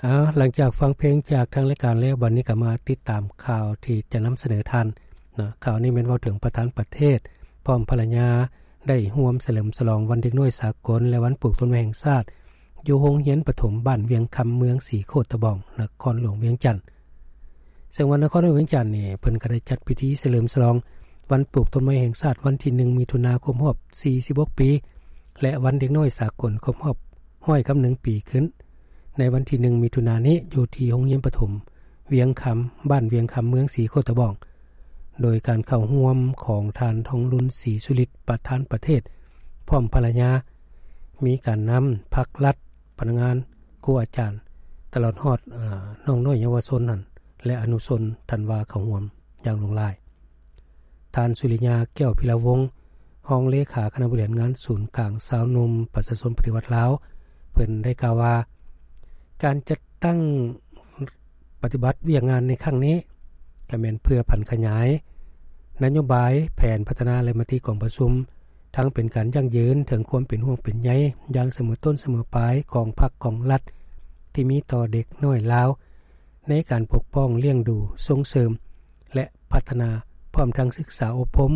ເອົາ ຫຼັງຈາກຟັງເພງຈາກທາງລາຍການແລ້ວ, ບັດນີ້ກໍມາຕິດຕາມຂ່າວທີ່ຈະນຳສະເໜີທ່ານເນາະ. ຂ່າວນີ້ແມ່ນເວົ້າເຖິງປະທານປະເທດພ້ອມພັນລະຍາ ໄດ້ຮ່ວມສະເຫຼີມສະຫຼອງວັນເດັກນ້ອຍສາກົນ ແລະ ວັນປູກຕົ້ນໄມ້ແຫ່ງຊາດ ຢູ່ໂຮງຮຽນປະຖົມບ້ານວຽງຄຳ ເມືອງສີໂຄດຕະບອງ ນະຄອນຫຼວງວຽງຈັນ. ເຊິ່ງວ່ານະຄອນຫຼວງວຽງຈັນນີ້ ເພິ່ນກໍໄດ້ຈັດພິທີສະເຫຼີມສະຫຼອງວັນປູກຕົ້ນໄມ້ແຫ່ງຊາດ ວັນທີໜຶ່ງ ມິຖຸນາ ຄົບຮອບສີ່ສິບຫົກປີ ແລະ ວັນເດັກນ້ອຍສາກົນ ຄົບຮອບຮ້ອຍກັບໜຶ່ງປີຂຶ້ນ ໃນວັນທີໜຶ່ງ ມິຖຸນານີ້ ຢູ່ທີ່ໂຮງຮຽນປະຖົມວຽງຄຳ ບ້ານວຽງຄຳ ເມືອງສີໂຄດຕະບອງ ໂດຍການເຂົ້າຮ່ວມຂອງທ່ານ ທອງລຸນ ສີສຸລິດ ປະທານປະເທດພ້ອມພັນລະຍາ, ມີການນຳພັກລັດ, ພະນັກງານ, ຄູອາຈານ, ຕະຫຼອດຮອດ ເອີ ນ້ອງນ້ອຍເຍົາວະຊົນນັ້ນ ແລະ ອະນຸຊົນທັນວາເຂົ້າຮ່ວມຢ່າງຫຼວງຫຼາຍ. ທ່ານ ສຸລິຍາ ແກ້ວພິລະວົງ ຮອງເລຂາຄະນະບໍລິຫານງານສູນກາງຊາວໜຸ່ມປະຊາຊົນປະຕິວັດລາວ ເພິ່ນໄດ້ກ່າວວ່າ ການຈັດຕັ້ງປະຕິບັດວຽກງານໃນຄັ້ງນີ້ ກໍແມ່ນເພື່ອຜັນຂະຫຍາຍນະໂຍບາຍ, ແຜນພັດທະນາ ແລະ ມະຕິກອງປະຊຸມ ທັງເປັນການຢັ້ງຢືນເຖິງຄວາມເປັນຫ່ວງເປັນໃຍຢ່າງສະເໝີຕົ້ນສະເໝີປາຍຂອງພັກຂອງລັດ ທີ່ມີຕໍ່ເດັກນ້ອຍລາວ ໃນການປົກປ້ອງ, ລ້ຽງດູ, ສົ່ງເສີມ ແລະ ພັດທະນາ, ພ້ອມທັງສຶກສາອົບຮົມ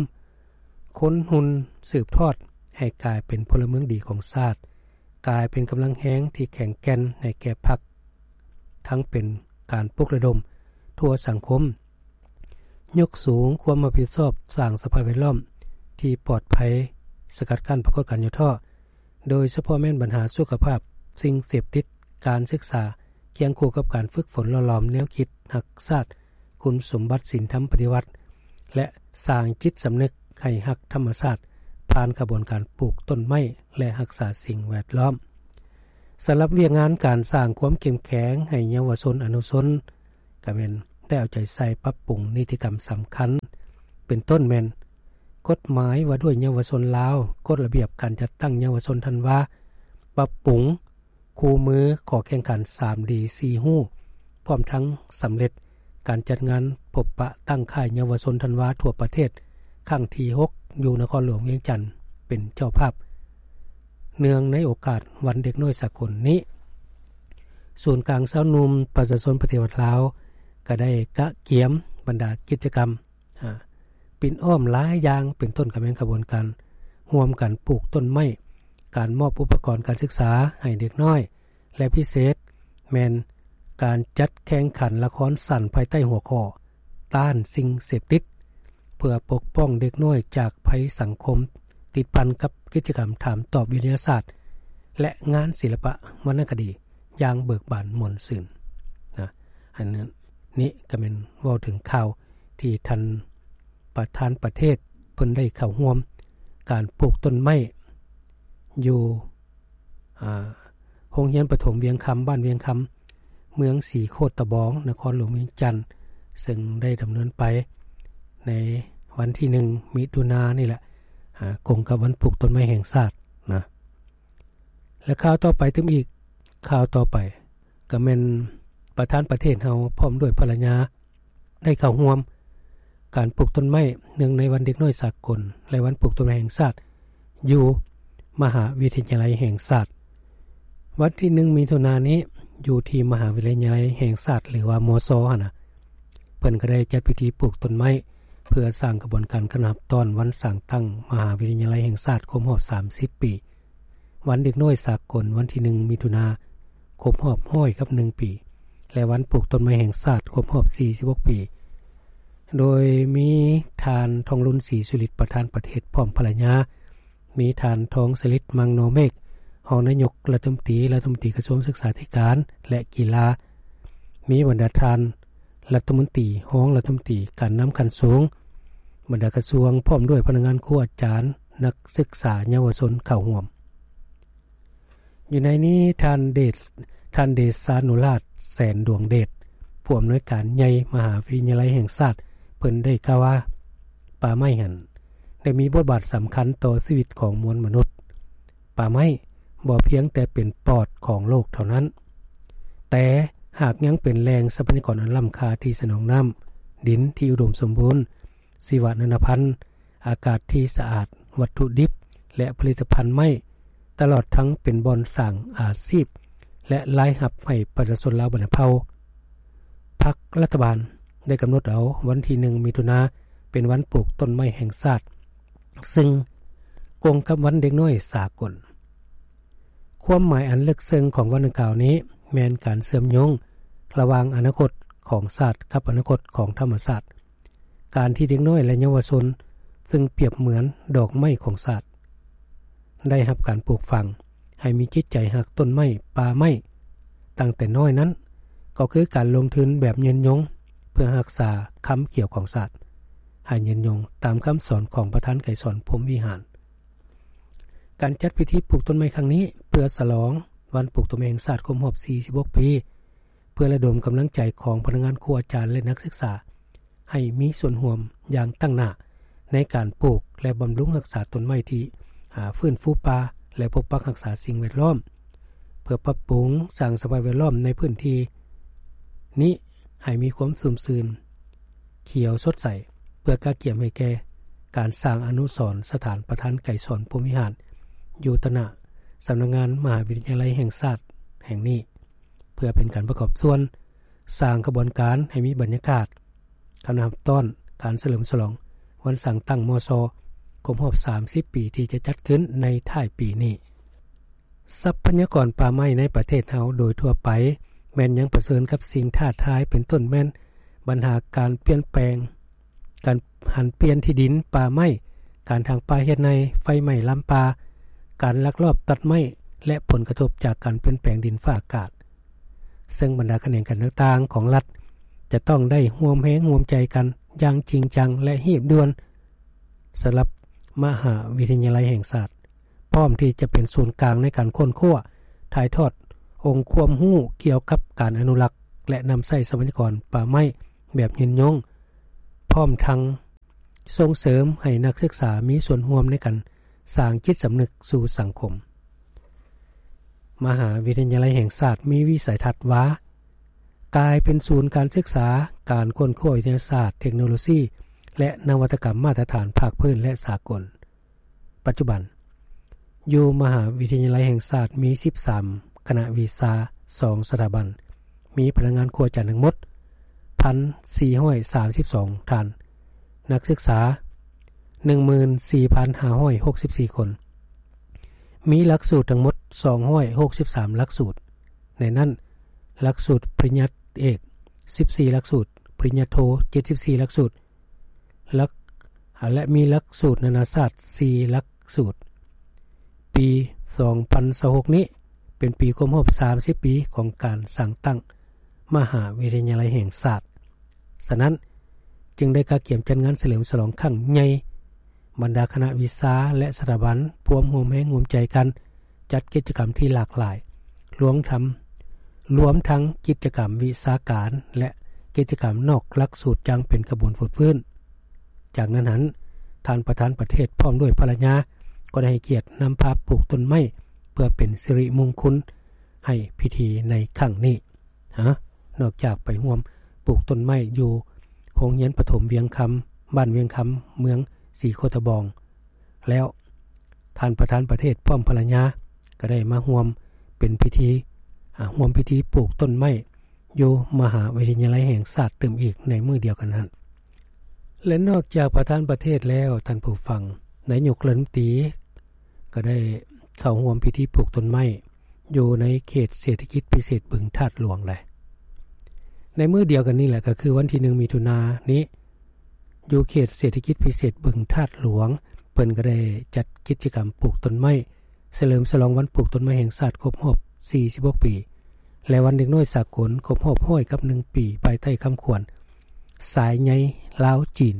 ຄົນຮຸ່ນສືບທອດໃຫ້ກາຍເປັນພົນລະເມືອງດີຂອງຊາດ, ກາຍເປັນກຳລັງແຮງທີ່ແຂງແກ່ນໃຫ້ແກ່ພັກ ທັງເປັນການປຸກລະດົມທົ່ວສັງຄົມ, ຍົກສູງຄວາມຮັບຜິດຊອບ, ສ້າງສະພາບແວດລ້ອມທີ່ປອດໄພ, ສະກັດກັ້ນປາກົດການຫຍໍ້ທໍ້, ໂດຍສະເພາະແມ່ນບັນຫາສຸຂະພາບ, ສິ່ງເສບຕິດ, ການສຶກສາ, ຄຽງຄູ່ກັບການຝຶກຝົນຫຼໍ່ຫຼອມແນວຄິດຮັກຊາດ, ຄຸນສົມບັດສິນທຳປະຕິວັດ ແລະ ສ້າງຈິດສຳນຶກໃຫ້ຮັກທຳມະຊາດ ຜ່ານຂະບວນການປູກຕົ້ນໄມ້ ແລະ ຮັກສາສິ່ງແວດລ້ອມ. ສຳລັບວຽກງານການສ້າງຄວາມເຂັ້ມແຂງໃຫ້ເຍົາວະຊົນອະນຸຊົນ ກໍແມ່ນໄດ້ເອົາໃຈໃສ່ປັບປຸງນິຕິກຳສຳຄັນ ເປັນຕົ້ນແມ່ນ ກົດໝາຍວ່າດ້ວຍເຍົາວະຊົນລາວ, ກົດລະບຽບການຈັດຕັ້ງເຍົາວະຊົນທັນວາ, ປັບປຸງຄູ່ມືຂໍ້ແຂ່ງຂັນສາມດີ ສີ່ຮູ້ ພ້ອມທັງສຳເລັດການຈັດງານພົບປະຕັ້ງຄ້າຍເຍົາວະຊົນທັນວາທົ່ວປະເທດ ຄັ້ງທີຫົກ ຢູ່ນະຄອນຫຼວງວຽງຈັນເປັນເຈົ້າພາບ. ເນື່ອງໃນໂອກາດວັນເດັກນ້ອຍສາກົນນີ້, ສູນກາງຊາວໜຸ່ມປະຊາຊົນປະຕິວັດລາວ ກໍໄດ້ກະກຽມບັນດາກິດຈະກຳ ອາ ປິ່ນອ້ອມຫຼາຍຢ່າງ ເປັນຕົ້ນກໍແມ່ນຂະບວນການຮ່ວມກັນປູກຕົ້ນໄມ້, ການມອບອຸປະກອນການສຶກສາໃຫ້ເດັກນ້ອຍ ແລະ ພິເສດແມ່ນການຈັດແຂ່ງຂັນລະຄອນສັ້ນພາຍໃຕ້ຫົວຂໍ້ ຕ້ານສິ່ງເສບຕິດ ເພື່ອປົກປ້ອງເດັກນ້ອຍຈາກໄພສັງຄົມ ຕິດພັນກັບກິດຈະກຳຖາມຕອບວິທະຍາສາດ ແລະ ງານສິລະປະວັນນະຄະດີຢ່າງເບີກບານມ່ວນຊື່ນນະ. ອັນນີ້ກໍແມ່ນເວົ້າເຖິງຂ່າວ ທີ່ທ່ານປະທານປະເທດເພິ່ນໄດ້ເຂົ້າຮ່ວມການປູກຕົ້ນໄມ້ຢູ່ ອາ ໂຮງຮຽນປະຖົມວຽງຄຳ ບ້ານວຽງຄຳ ເມືອງສີໂຄດຕະບອງ ນະຄອນຫຼວງວຽງຈັນ ເຊິ່ງໄດ້ດຳເນີນໄປໃນວັນທີໜຶ່ງ ມິຖຸນານີ້ແຫຼະ ອາ ກົງກັບວັນປູກຕົ້ນໄມ້ແຫ່ງຊາດນະ. ແລະ ຂ່າວຕໍ່ໄປຕື່ມອີກ ຂ່າວຕໍ່ໄປກໍແມ່ນປະທານປະເທດເຮົາພ້ອມດ້ວຍພັນລະຍາ ໄດ້ເຂົ້າຮ່ວມການປູກຕົ້ນໄມ້ ເນື່ອງໃນວັນເດັກນ້ອຍສາກົນ ແລະ ວັນປູກຕົ້ນໄມ້ແຫ່ງຊາດ ຢູ່ມະຫາວິທະຍາໄລແຫ່ງຊາດ ວັນທີໜຶ່ງ ມິຖຸນານີ້ ຢູ່ທີ່ມະຫາວິທະຍາໄລແຫ່ງຊາດ ຫຼືວ່າ ມຊ ຫັ້ນນະ ເພິ່ນກໍໄດ້ຈັດພິທີປູກຕົ້ນໄມ້ ເພື່ອສ້າງຂະບວນການການຮັບຕ້ອນວັນສ້າງຕັ້ງມະຫາວິທະຍາໄລແຫ່ງຊາດຄົບຮອບສາມສິບປີ, ວັນເດັກນ້ອຍສາກົນວັນທີໜຶ່ງ ມິຖຸນາ ຄົບຮອບຮ້ອຍກັບໜຶ່ງປີ ແລະ ວັນປູກຕົ້ນໄມ້ແຫ່ງຊາດຄົບຮອບສີ່ສິບຫົກປີ ໂດຍມີທ່ານ ທອງລຸນ ສີສຸລິດ ປະທານປະເທດ ພ້ອມພັນລະຍາ, ມີທ່ານ ທອງສະລິດ ມັງນໍເມກ ຮອງນາຍົກລັດຖະມົນຕີ, ລັດຖະມົນຕີກະຊວງສຶກສາທິການ ແລະ ກິລາ, ມີບັນດາທ່ານລັດຖະມົນຕີ, ຮອງລັດຖະມົນຕີ, ການນຳຂັ້ນສູງ, ບັນດາກະຊວງ ພ້ອມດ້ວຍພະນັກງານ, ຄູອາຈານ, ນັກສຶກສາ, ເຍົາວະຊົນເຂົ້າຮ່ວມ. ຢູ່ໃນນີ້ ທ່ານເດ ທ່ານເດຊານຸລາດ ແສນດວງເດດ ຜູ້ອຳນວຍການໃຫຍ່ມະຫາວິທະຍາໄລແຫ່ງຊາດ ເພິ່ນໄດ້ກ່າວວ່າ ປ່າໄມ້ຫັ້ນໄດ້ມີບົດບາດສຳຄັນຕໍ່ຊີວິດຂອງມວນມະນຸດ. ປ່າໄມ້ບໍ່ພຽງແຕ່ເປັນປອດຂອງໂລກເທົ່ານັ້ນ, ແຕ່ຫາກຍັງເປັນແຫຼ່ງຊັບພະຍາກອນອັນລ້ຳຄ່າທີ່ສະໜອງນ້ຳ, ດິນທີ່ອຸດົມສົມບູນ, ຊີວະນານາພັນ, ອາກາດທີ່ສະອາດ, ວັດຖຸດິບ ແລະ ຜະລິດຕະພັນໄມ້, ຕະຫຼອດທັງເປັນບ່ອນສ້າງອາຊີບ ແລະ ລາຍຮັບໃຫ້ປະຊາຊົນລາວບັນດາເຜົ່າ. ພັກລັດຖະບານໄດ້ກຳນົດເອົາວັນທີໜຶ່ງ ມິຖຸນາ ເປັນວັນປູກຕົ້ນໄມ້ແຫ່ງຊາດ, ຊຶ່ງກົງກັບວັນເດັກນ້ອຍສາກົນ. ຄວາມໝາຍອັນເລິກເຊິ່ງຂອງວັນດັ່ງກ່າວນີ້ ແມ່ນການເຊື່ອມໂຍງລະຫວ່າງອະນາຄົດຂອງຊາດກັບອະນາຄົດຂອງທຳມະຊາດ. ການທີ່ເດັກນ້ອຍ ແລະ ເຍົາວະຊົນ ຊຶ່ງປຽບເໝືອນດອກໄມ້ຂອງຊາດ ໄດ້ຮັບການປູກຝັງໃຫ້ມີຈິດໃຈຮັກຕົ້ນໄມ້ປ່າໄມ້ຕັ້ງແຕ່ນ້ອຍນັ້ນ ກໍຄືການລົງທຶນແບບຍືນຍົງ ເພື່ອຮັກສາຄຳຂຽວຂອງຊາດ ໃຫ້ຍືນຍົງຕາມຄຳສອນຂອງປະທານໄກສອນ ພົມວິຫານ. ການຈັດພິທີປູກຕົ້ນໄມ້ຄັ້ງນີ້ ເພື່ອສະຫຼອງວັນປູກຕົ້ນໄມ້ແຫ່ງຊາດຄົບຮອບ ສີ່ສິບຫົກ ປີ, ເພື່ອລະດົມກຳລັງໃຈຂອງພະນັກງານ, ຄູອາຈານ ແລະ ນັກສຶກສາ ໃຫ້ມີສ່ວນຮ່ວມຢ່າງຕັ້ງໜ້າໃນການປູກ ແລະ ບຳລຸງຮັກສາຕົ້ນໄມ້ທີ່ ອາ ຟື້ນຟູປ່າ ແລະ ປົກປັກຮັກສາສິ່ງແວດລ້ອມ, ເພື່ອປັບປຸງສ້າງສະພາບແວດລ້ອມໃນພື້ນທີ່ນີ້ໃຫ້ມີຄວາມຊຸ່ມຊື່ນ ຂຽວສົດໃສ ເພື່ອກະກຽມໃຫ້ແກ່ການສ້າງອະນຸສອນສະຖານປະທານໄກສອນ ພົມວິຫານ ຢູ່ຕະໜ້າສຳນັກງານມະຫາວິທະຍາໄລແຫ່ງຊາດແຫ່ງນີ້. ເພື່ອເປັນການປະກອບສ່ວນສ້າງຂະບວນການໃຫ້ມີບັນຍາກາດການຮັບຕ້ອນການສະເຫຼີມສະຫຼອງວັນສ້າງຕັ້ງ ມຊ ຄົບຮອບ ສາມສິບ ປີ ທີ່ຈະຈັດຂຶ້ນໃນທ້າຍປີນີ້. ຊັບພະຍາກອນປ່າໄມ້ໃນປະເທດເຮົາໂດຍທົ່ວໄປ ແມ່ນຍັງປະເຊີນກັບສິ່ງທ້າທາຍ ເປັນຕົ້ນແມ່ນບັນຫາການປ່ຽນແປງ ການຫັນປ່ຽນທີ່ດິນປ່າໄມ້, ການຖາງປ່າເຮັດໄຮ່, ໄຟໄໝ້ລາມປ່າ, ການລັກລອບຕັດໄມ້ ແລະ ຜົນກະທົບຈາກການປ່ຽນແປງດິນຟ້າອາກາດ, ເຊິ່ງບັນດາຂະແໜງການຕ່າງໆຂອງລັດ ຈະຕ້ອງໄດ້ຮ່ວມແຮງຮ່ວມໃຈກັນຢ່າງຈິງຈັງ ແລະ ຮີບດ່ວນ ສຳລັບມະຫາວິທະຍາໄລແຫ່ງຊາດ ພ້ອມທີ່ຈະເປັນສູນກາງໃນການຄົ້ນຄວ້າ, ຖ່າຍທອດອົງຄວາມຮູ້ກ່ຽວກັບການອະນຸລັກ ແລະ ນຳໃຊ້ຊັບພະຍາກອນປ່າໄມ້ແບບຍືນຍົງ, ພ້ອມທັງສົ່ງເສີມໃຫ້ນັກສຶກສາມີສ່ວນຮ່ວມໃນການສ້າງຈິດສຳນຶກສູ່ສັງຄົມ. ມະຫາວິທະຍາໄລແຫ່ງຊາດມີວິໄສທັດວ່າ ກາຍເປັນສູນການສຶກສາ, ການຄົ້ນຄວ້າວິທະຍາສາດ, ເທັກໂນໂລຊີ ແລະ ນະວັດຕະກຳມາດຕະຖານພາກພື້ນ ແລະ ສາກົນ. ປັດຈຸບັນ, ຢູ່ມະຫາວິທະຍາໄລແຫ່ງຊາດມີສິບສາມຄະນະວິຊາ, ສອງສະຖາບັນ, ມີພະນັກງານຄູອາຈານທັງໝົດ ໜຶ່ງພັນສີ່ຮ້ອຍສາມສິບສອງ ທ່ານ, ນັກສຶກສາ ໜຶ່ງໝື່ນສີ່ພັນຫ້າຮ້ອຍຫົກສິບສີ່ຄົນ, ມີຫຼັກສູດທັງໝົດ ສອງຮ້ອຍຫົກສິບສາມຫຼັກສູດ, ໃນນັ້ນ ຫຼັກສູດປະລິນຍາເອກ ສິບສີ່ຫຼັກສູດ, ປະລິນຍາໂທ ເຈັດສິບສີ່ຫຼັກສູດ, ຫຼັກ ແລະ ມີຫຼັກສູດນານາຊາດ ສີ່ຫຼັກສູດ. ປີສອງພັນຊາວຫົກນີ້ ເປັນປີຄົບຮອບສາມສິບປີຂອງການສ້າງຕັ້ງມະຫາວິທະຍາໄລແຫ່ງຊາດ. ສະນັ້ນ, ຈຶ່ງໄດ້ກະກຽມຈັດງານສະເຫຼີມສະຫຼອງຄັ້ງໃຫຍ່, ບັນດາຄະນະວິຊາ ແລະ ສະຖາບັນ ພວມຮ່ວມແຮງຮ່ວມໃຈກັນ ຈັດກິດຈະກຳທີ່ຫຼາກຫຼາຍ, ລວມທັງ ລວມທັງກິດຈະກຳວິຊາການ ແລະ ກິດຈະກຳນອກຫຼັກສູດຢ່າງເປັນຂະບວນຟົດຟື້ນ. ຈາກນັ້ນຫັ້ນ, ທ່ານປະທານປະເທດພ້ອມດ້ວຍພັນລະຍາ ກໍໄດ້ໃຫ້ກຽດນຳພາປູກຕົ້ນໄມ້ ເພື່ອເປັນສິລິມຸງຄຸນໃຫ້ພິທີໃນຄັ້ງນີ້. ນອກຈາກໄປຮ່ວມປູກຕົ້ນໄມ້ຢູ່ໂຮງຮຽນປະຖົມວຽງຄຳ, ບ້ານວຽງຄຳ, ເມືອງສີໂຄດຕະບອງແລ້ວ, ທ່ານປະທານປະເທດພ້ອມພັນລະຍາ ກໍໄດ້ມາຮ່ວມເປັນພິທີ, ອາ, ຮ່ວມພິທີປູກຕົ້ນໄມ້ຢູ່ມະຫາວິທະຍາໄລແຫ່ງຊາດຕື່ມອີກໃນມື້ດຽວກັນນັ້ນ. ແລະ ນອກຈາກປະທານປະເທດແລ້ວ, ທ່ານຜູ້ຟັງ, ນາຍົກລັດຖະມົນຕີ ກໍໄດ້ເຂົ້າຮ່ວມພິທີປູກຕົ້ນໄມ້ຢູ່ໃນເຂດເສດຖະກິດພິເສດບຶງທາດຫຼວງໄດ໋. ໃນມື້ດຽວກັນນີ້ແຫຼະ, ກໍຄືວັນທີໜຶ່ງ ມິຖຸນານີ້, ຢູ່ເຂດເສດຖະກິດພິເສດບຶງທາດຫຼວງ, ເພິ່ນກໍໄດ້ຈັດກິດຈະກຳປູກຕົ້ນໄມ້ ສະເຫຼີມສະຫຼອງວັນປູກຕົ້ນໄມ້ແຫ່ງຊາດຄົບຮອບ ສີ່ສິບຫົກ ປີ ແລະ ວັນເດັກນ້ອຍສາກົນຄົບຮອບ ຮ້ອຍກັບໜຶ່ງ ປີ ພາຍໃຕ້ຄຳຂວັນ ສາຍໃຍລາວ-ຈີນ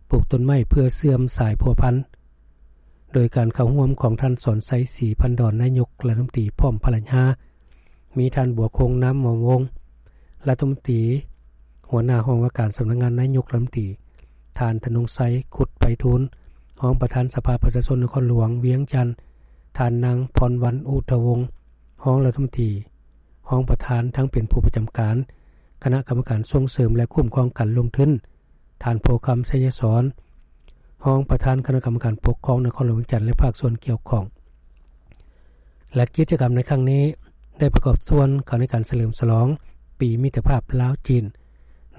ປູກຕົ້ນໄມ້ເພື່ອເຊື່ອມສາຍພົວພັນ ໂດຍການເຂົ້າຮ່ວມຂອງທ່ານ ສອນໄຊ ສີພັນດອນ ນາຍົກລັດຖະມົນຕີພ້ອມພັນລະຍາ, ມີທ່ານ ບົວຄົງ ນາມວອງວົງ ລັດຖະມົນຕີ ຫົວໜ້າຫ້ອງວ່າການສຳນັກງານນາຍົກລັດຖະມົນຕີ, ທ່ານ ທະນົງໄຊ ຄຸດໄພທູນ ຮອງປະທານສະພາປະຊາຊົນນະຄອນຫຼວງວຽງຈັນ, ທ່ານ ນາງ ພອນວັນ ອຸທະວົງ ຮອງລັດຖະມົນຕີ, ຮອງປະທານ ທັງເປັນຜູ້ປະຈຳການຄະນະກຳມະການສົ່ງເສີມ ແລະ ຄຸ້ມຄອງການລົງທຶນ, ທ່ານ ໂພຄຳ ໄຊຍະສອນ ຮອງປະທານຄະນະກຳມະການປົກຄອງນະຄອນຫຼວງວຽງຈັນ ແລະ ພາກສ່ວນກ່ຽວຂ້ອງ. ແລະ ກິດຈະກຳໃນຄັ້ງນີ້ ໄດ້ປະກອບສ່ວນເຂົ້າໃນການສະເຫຼີມສະຫຼອງປີມິດຕະພາບລາວ-ຈີນ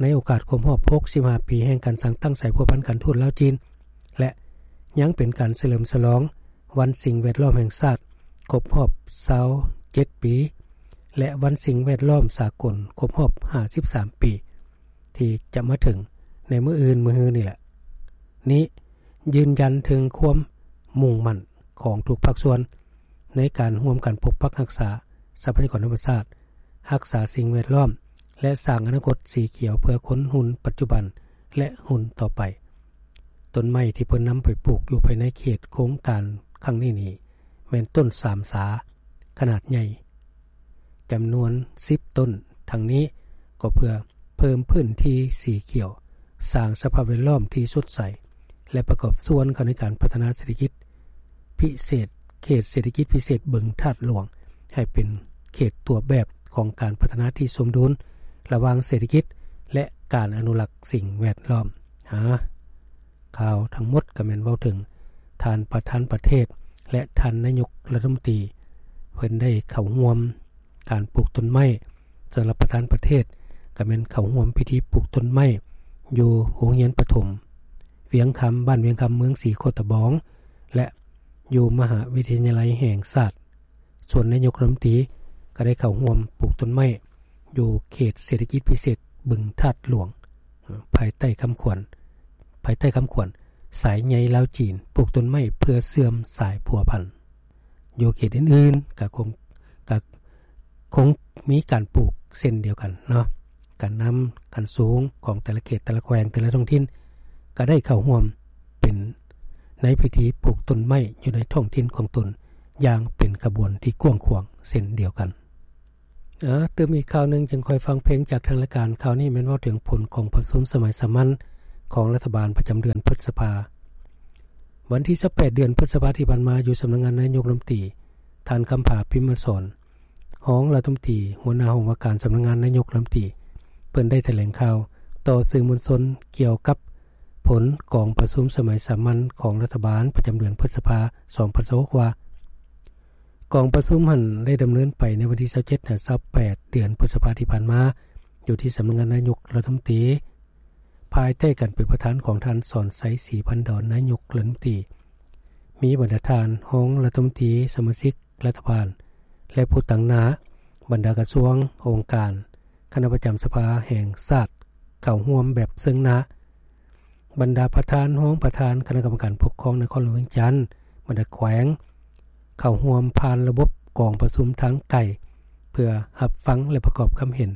ໃນໂອກາດຄົບຮອບຫົກສິບຫ້າປີແຫ່ງການສ້າງຕັ້ງສາຍພົວພັນການທູດລາວ-ຈີນ ແລະ ຍັງເປັນການສະເຫຼີມສະຫຼອງວັນສິ່ງແວດລ້ອມແຫ່ງຊາດຄົບຮອບຊາວເຈັດປີ ແລະ ວັນສິ່ງແວດລ້ອມສາກົນຄົບຮອບຫ້າສິບສາມປີ ທີ່ຈະມາເຖິງໃນມື້ອື່ນມື້ຮືນີ້ແຫຼະ. ນີ້ຢືນຢັນເຖິງຄວາມມຸ່ງໝັ້ນຂອງທຸກພາກສ່ວນ ໃນການຮ່ວມກັນປົກປັກຮັກສາຊັບພະຍາກອນທຳມະຊາດ, ຮັກສາສິ່ງແວດລ້ອມ ແລະ ສ້າງອະນາຄົດສີຂຽວເພື່ອຄົນຮຸ່ນປັດຈຸບັນ ແລະ ຮຸ່ນຕໍ່ໄປ. ຕົ້ນໄມ້ທີ່ເພິ່ນນຳໄປປູກຢູ່ພາຍໃນເຂດໂຄງການຄັ້ງນີ້ນີ້ ແມ່ນຕົ້ນສາມສາຂະໜາດໃຫຍ່ ຈຳນວນສິບຕົ້ນ. ທັງນີ້ກໍເພື່ອເພີ່ມພື້ນທີ່ສີຂຽວ, ສ້າງສະພາບແວດລ້ອມທີ່ສົດໃສ ແລະ ປະກອບສ່ວນເຂົ້າໃນການພັດທະນາເສດຖະກິດພິເສດ, ເຂດເສດຖະກິດພິເສດບຶງທາດຫຼວງ ໃຫ້ເປັນເຂດຕົວແບບຂອງການພັດທະນາທີ່ສົມດຸນລະຫວ່າງເສດຖະກິດ ແລະ ການອະນຸລັກສິ່ງແວດລ້ອມ. ຫາ ຂ່າວທັງໝົດກໍແມ່ນເວົ້າເຖິງທ່ານປະທານປະເທດ ແລະ ທ່ານນາຍົກລັດຖະມົນຕີ ເພິ່ນໄດ້ເຂົ້າຮ່ວມການປູກຕົ້ນໄມ້. ສຳລັບປະທານປະເທດກໍແມ່ນເຂົ້າຮ່ວມພິທີປູກຕົ້ນໄມ້ຢູ່ໂຮງຮຽນປະຖົມວຽງຄຳ, ບ້ານວຽງຄຳ, ເມືອງສີໂຄດຕະບອງ ແລະ ຢູ່ມະຫາວິທະຍາໄລແຫ່ງຊາດ. ສ່ວນນາຍົກລັດຖະມົນຕີກໍໄດ້ເຂົ້າຮ່ວມປູກຕົ້ນໄມ້ຢູ່ເຂດເສດຖະກິດພິເສດບຶງທາດຫຼວງ ພາຍໃຕ້ຄຳຂວັນ, ພາຍໃຕ້ຄຳຂວັນ ສາຍໃຍລາວຈີນ ປູກຕົ້ນໄມ້ເພື່ອເຊື່ອມສາຍພົວພັນ. ຢູ່ເຂດອື່ນໆກໍຄົງ, ກໍຄົງມີການປູກເຊັ່ນດຽວກັນເນາະ. ການນຳຂັ້ນສູງຂອງແຕ່ລະເຂດ, ແຕ່ລະແຂວງ, ແຕ່ລະທ້ອງຖິ່ນ ກໍໄດ້ເຂົ້າຮ່ວມເປັນໃນພິທີປູກຕົ້ນໄມ້ຢູ່ໃນທ້ອງຖິ່ນຂອງຕົນ ຢ່າງເປັນຂະບວນທີ່ກວ້າງຂວາງເຊັ່ນດຽວກັນ. ເອີ ຕື່ມອີກຂ່າວໜຶ່ງ ຈຶ່ງຄ່ອຍຟັງເພງຈາກທາງລາຍການ. ຂ່າວນີ້ແມ່ນເວົ້າເຖິງຜົນກອງປະຊຸມສະໄໝສາມັນຂອງລັດຖະບານປະຈຳເດືອນພຶດສະພາ. ວັນທີຊາວແປດ ເດືອນພຶດສະພາທີ່ຜ່ານມາ ຢູ່ສຳນັກງານນາຍົກລັດຖະມົນຕີ, ທ່ານ ຄຳຜາ ພິມມະສອນ ຮອງລັດຖະມົນຕີ ຫົວໜ້າຫ້ອງວ່າການສຳນັກງານນາຍົກລັດຖະມົນຕີ ເພິ່ນໄດ້ຖະແຫຼງຂ່າວຕໍ່ສື່ມວນຊົນກ່ຽວກັບຜົນກອງປະຊຸມສະໄໝສາມັນຂອງລັດຖະບານປະຈຳເດືອນພຶດສະພາ ສອງພັນຊາວຫົກ ວ່າ ກອງປະຊຸມຫັ້ນໄດ້ດຳເນີນໄປໃນວັນທີຊາວເຈັດ ຫາ ຊາວແປດ ເດືອນພຶດສະພາທີ່ຜ່ານມາ ຢູ່ທີ່ສຳນັກງານນາຍົກລັດຖະມົນຕີ ພາຍໃຕ້ການເປັນປະທານຂອງທ່ານ ສອນໄຊ ສີພັນດອນ ນາຍົກລັດຖະມົນຕີ, ມີບັນດາທ່ານຮອງລັດຖະມົນຕີ, ສະມາຊິກລັດຖະບານ ແລະ ຜູ້ຕາງໜ້າບັນດາກະຊວງ, ອົງການ, ຄະນະປະຈຳສະພາແຫ່ງຊາດ ເຂົ້າຮ່ວມແບບເຊິ່ງໜ້າ. ບັນດາປະທານ, ຮອງປະທານຄະນະກຳມະການປົກຄອງນະຄອນຫຼວງວຽງຈັນ, ບັນດາແຂວງ ເຂົ້າຮ່ວມຜ່ານລະບົບກອງປະຊຸມທາງໄກ ເພື່ອຮັບຟັງ ແລະ ປະກອບຄຳເຫັນ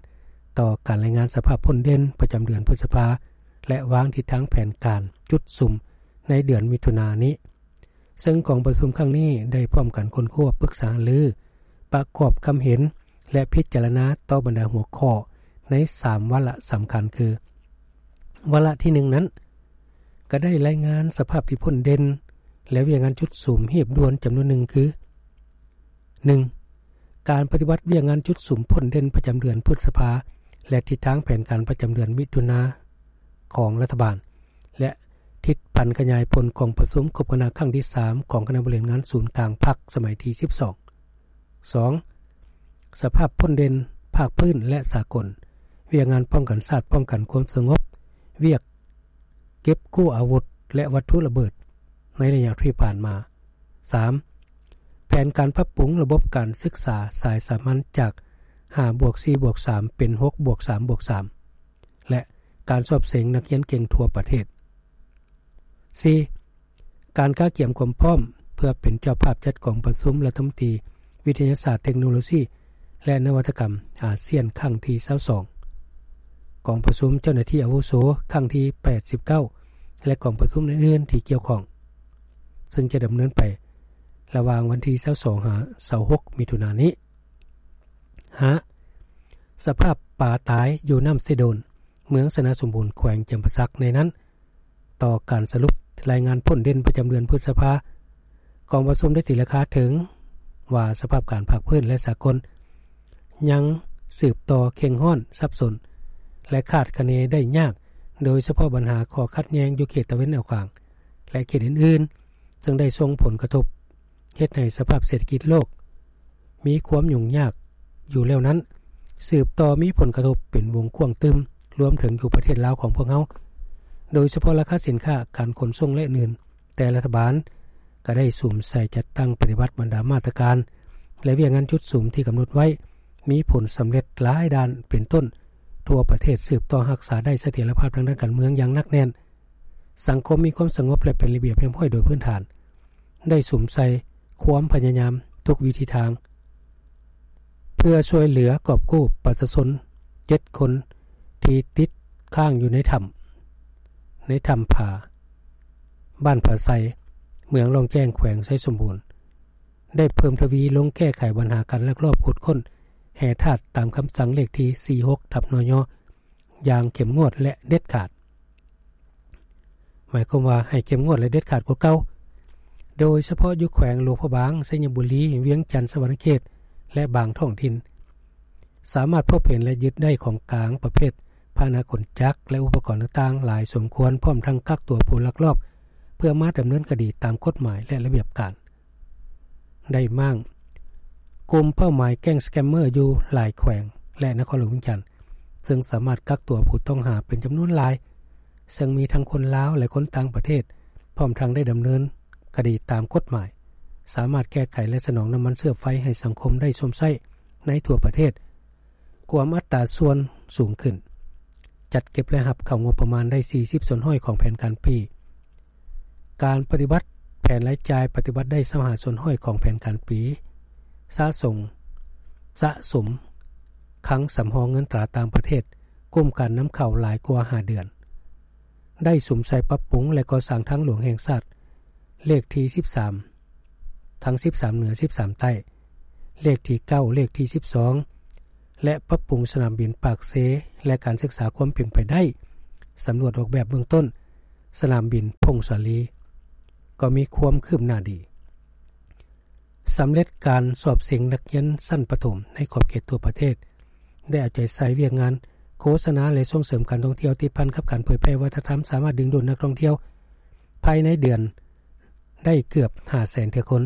ຕໍ່ການລາຍງານສະພາບພົ້ນເດັ່ນປະຈຳເດືອນພຶດສະພາ ແລະ ວາງທິດທາງແຜນການຈຸດສຸມໃນເດືອນມິຖຸນານີ້. ເຊິ່ງກອງປະຊຸມຄັ້ງນີ້ໄດ້ພ້ອມກັນຄົ້ນຄວ້າ, ປຶກສາຫາລື, ປະກອບຄຳເຫັນ ແລະ ພິຈາລະນາຕໍ່ບັນດາຫົວຂໍ້ໃນສາມວາລະສຳຄັນຄື ວາລະທີໜຶ່ງນັ້ນ ກໍໄດ້ລາຍງານສະພາບທີ່ພົ້ນເດັ່ນ ແລະ ວຽກງານຈຸດສຸມຮີບດ່ວນຈຳນວນໜຶ່ງຄື ໜຶ່ງ ການປະຕິບັດວຽກງານຈຸດສຸມພົ້ນເດັ່ນປະຈຳເດືອນພຶດສະພາ ແລະ ທິດທາງແຜນການປະຈຳເດືອນມິຖຸນາຂອງລັດຖະບານ ແລະ ທິດຜັນຂະຫຍາຍຜົນກອງປະຊຸມຄົບຄະນະຄັ້ງທີສາມຂອງຄະນະບໍລິຫານງານສູນກາງພັກສະໄໝທີສິບສອງ. ສອງ ສະພາບພົ້ນເດັ່ນພາກພື້ນ ແລະ ສາກົນ, ວຽກງານປ້ອງກັນຊາດ, ປ້ອງກັນຄວາມສະຫງົບ, ວຽກເກັບກູ້ອາວຸດ ແລະ ວັດຖຸລະເບີດໃນໄລຍະທີ່ຜ່ານມາ. ສາມ ແຜນການປັບປຸງລະບົບການສຶກສາສາຍສາມັນຈາກຫ້າບວກສີ່ບວກສາມ ເປັນຫົກບວກສາມບວກສາມ ແລະ ການສອບເສັງນັກຮຽນເກັ່ງທົ່ວປະເທດ. ສີ່ ການກະກຽມຄວາມພ້ອມເພື່ອເປັນເຈົ້າພາບຈັດກອງປະຊຸມລັດຖະມົນຕີວິທະຍາສາດ, ເທັກໂນໂລຊີ ແລະ ນະວັດຕະກຳອາຊຽນຄັ້ງທີຊາວສອງ, ກອງປະຊຸມເຈົ້າໜ້າທີ່ອາວຸໂສຄັ້ງທີແປດສິບເກົ້າ ແລະ ກອງປະຊຸມອື່ນໆທີ່ກ່ຽວຂ້ອງ ເຊິ່ງຈະດຳເນີນໄປລະຫວ່າງວັນທີຊາວສອງ ຫາ ຊາວຫົກ ມິຖຸນານີ້. ຫ້າ ສະພາບປາຕາຍຢູ່ນ້ຳເຊໂດນ ເມືອງຊະນະສົມບູນ ແຂວງຈຳປາສັກ ໃນນັ້ນ ຕໍ່ການສະຫຼຸບລາຍງານພົ້ນເດັ່ນປະຈຳເດືອນພຶດສະພາ, ກອງປະຊຸມໄດ້ຕີລາຄາເຖິງວ່າສະພາບການພາກພື້ນ ແລະ ສາກົນ ຍັງສືບຕໍ່ເຄັ່ງຮ້ອນ, ສັບສົນ ແລະ ຄາດຄະເນໄດ້ຍາກ, ໂດຍສະເພາະບັນຫາຂໍ້ຂັດແຍ່ງຢູ່ເຂດຕາເວັນອອກກາງ ແລະ ເຂດອື່ນໆ ເຊິ່ງໄດ້ສົ່ງຜົນກະທົບເຮັດໃຫ້ສະພາບເສດຖະກິດໂລກມີຄວາມຫຍຸ້ງຍາກ ຢູ່ແລ້ວນັ້ນ ສືບຕໍ່ມີຜົນກະທົບເປັນວົງກວ້າງຕື່ມ ລວມເຖິງຢູ່ປະເທດລາວຂອງພວກເຮົາ, ໂດຍສະເພາະລາຄາສິນຄ້າ, ການຂົນສົ່ງ ແລະ ອື່ນໆ. ແຕ່ລັດຖະບານກໍໄດ້ສຸມໃສ່ຈັດຕັ້ງປະຕິບັດບັນດາມາດຕະການ ແລະ ວຽກງານຈຸດສຸມທີ່ກຳນົດໄວ້ ມີຜົນສຳເລັດຫຼາຍດ້ານ ເປັນຕົ້ນ ທົ່ວປະເທດສືບຕໍ່ຮັກສາໄດ້ສະຖຽນລະພາບທາງດ້ານການເມືອງຢ່າງໜັກແໜ້ນ, ສັງຄົມມີຄວາມສະຫງົບ ແລະ ເປັນລະບຽບຮຽບຮ້ອຍໂດຍພື້ນຖານ, ໄດ້ສຸມໃສ່ຄວາມພະຍາຍາມທຸກວິທີທາງ ເພື່ອຊ່ວຍເຫຼືອກອບກູ້ປະຊາຊົນເຈັດຄົນທີ່ຕິດຄ້າງຢູ່ໃນຖ້ຳ ໃນຖ້ຳຜາ ບ້ານຜາໄຊ ເມືອງລ່ອງແຈ້ງ ແຂວງໄຊສົມບູນ, ໄດ້ເພີ່ມທະວີລົງແກ້ໄຂບັນຫາການລັກລອບຂຸດຄົ້ນແຮ່ທາດຕາມຄຳສັ່ງເລກທີສີ່ສິບຫົກ ທັບ ນຍ ຢ່າງເຂັ້ມງວດ ແລະ ເດັດຂາດ. ໝາຍຄວາມວ່າໃຫ້ເຂັ້ມງວດ ແລະ ເດັດຂາດກວ່າເກົ່າ, ໂດຍສະເພາະຢູ່ແຂວງຫຼວງພະບາງ, ໄຊຍະບູລີ, ວຽງຈັນ, ສະຫວັນນະເຂດ ແລະ ບາງທ້ອງຖິ່ນ, ສາມາດພົບເຫັນ ແລະ ຍຶດໄດ້ຂອງກາງປະເພດພາຫະນະຂົນຈັກ ແລະ ອຸປະກອນຕ່າງໆຫຼາຍສົມຄວນ, ພ້ອມທັງກັກຕົວຜູ້ລັກລອບ ເພື່ອມາດຳເນີນຄະດີຕາມກົດໝາຍ ແລະ ລະບຽບການ. ໄດ້ມ້າງກຸ່ມເປົ້າໝາຍແກ້ງສະແກມເມີຢູ່ຫຼາຍແຂວງ ແລະ ນະຄອນຫຼວງວຽງຈັນ, ເຊິ່ງສາມາດກັກຕົວຜູ້ຕ້ອງຫາເປັນຈຳນວນຫຼາຍ, ເຊິ່ງມີທັງຄົນລາວ ແລະ ຄົນຕ່າງປະເທດ, ພ້ອມທັງໄດ້ດຳເນີນຄະດີຕາມກົດໝາຍ, ສາມາດແກ້ໄຂ ແລະ ສະໜອງນ້ຳມັນເຊື້ອໄຟໃຫ້ສັງຄົມໄດ້ຊົມໃຊ້ໃນທົ່ວປະເທດ. ກວມອັດຕາສ່ວນສູງຂຶ້ນ, ຈັດເກັບລາຍຮັບເຂົ້າງົບປະມານໄດ້ສີ່ສິບສ່ວນຮ້ອຍຂອງແຜນການປີ. ການປະຕິບັດແຜນລາຍຈ່າຍປະຕິບັດໄດ້ຊາວຫ້າສ່ວນຮ້ອຍຂອງແຜນການປີ. ສະສົງ ສະສົມຄັງສຳຮອງເງິນຕາຕ່າງປະເທດ ກຸ້ມການນຳເຂົ້າຫຼາຍກວ່າຫ້າເດືອນ. ໄດ້ສຸມໃສ່ປັບປຸງ ແລະ ກໍ່ສ້າງທາງຫຼວງແຫ່ງຊາດ ເລກທີສິບສາມ ທັງສິບສາມເໜືອ ສິບສາມໃຕ້, ເລກທີເກົ້າ ເລກທີສິບສອງ ແລະ ປັບປຸງສະໜາມບິນປາກເຊ ແລະ ການສຶກສາຄວາມເປັນໄປໄດ້ ສຳຫຼວດອອກແບບເບື້ອງຕົ້ນສະໜາມບິນຜົ້ງສາລີ ກໍມີຄວາມຄືບໜ້າດີ. ສຳເລັດການສອບເສັງນັກຮຽນຊັ້ນປະຖົມໃນຂອບເຂດທົ່ວປະເທດ, ໄດ້ເອົາໃຈໃສ່ວຽກງານໂຄສະນາ ແລະ ສົ່ງເສີມການທ່ອງທ່ຽວ ຕິດພັນກັບການເຜີຍແຜ່ວັດທະນະທຳ, ສາມາດດຶງດູດນັກທ່ອງທ່ຽວພາຍໃນເດືອນ ໄດ້ເກືອບຫ້າແສນເທື່ອຄົນ,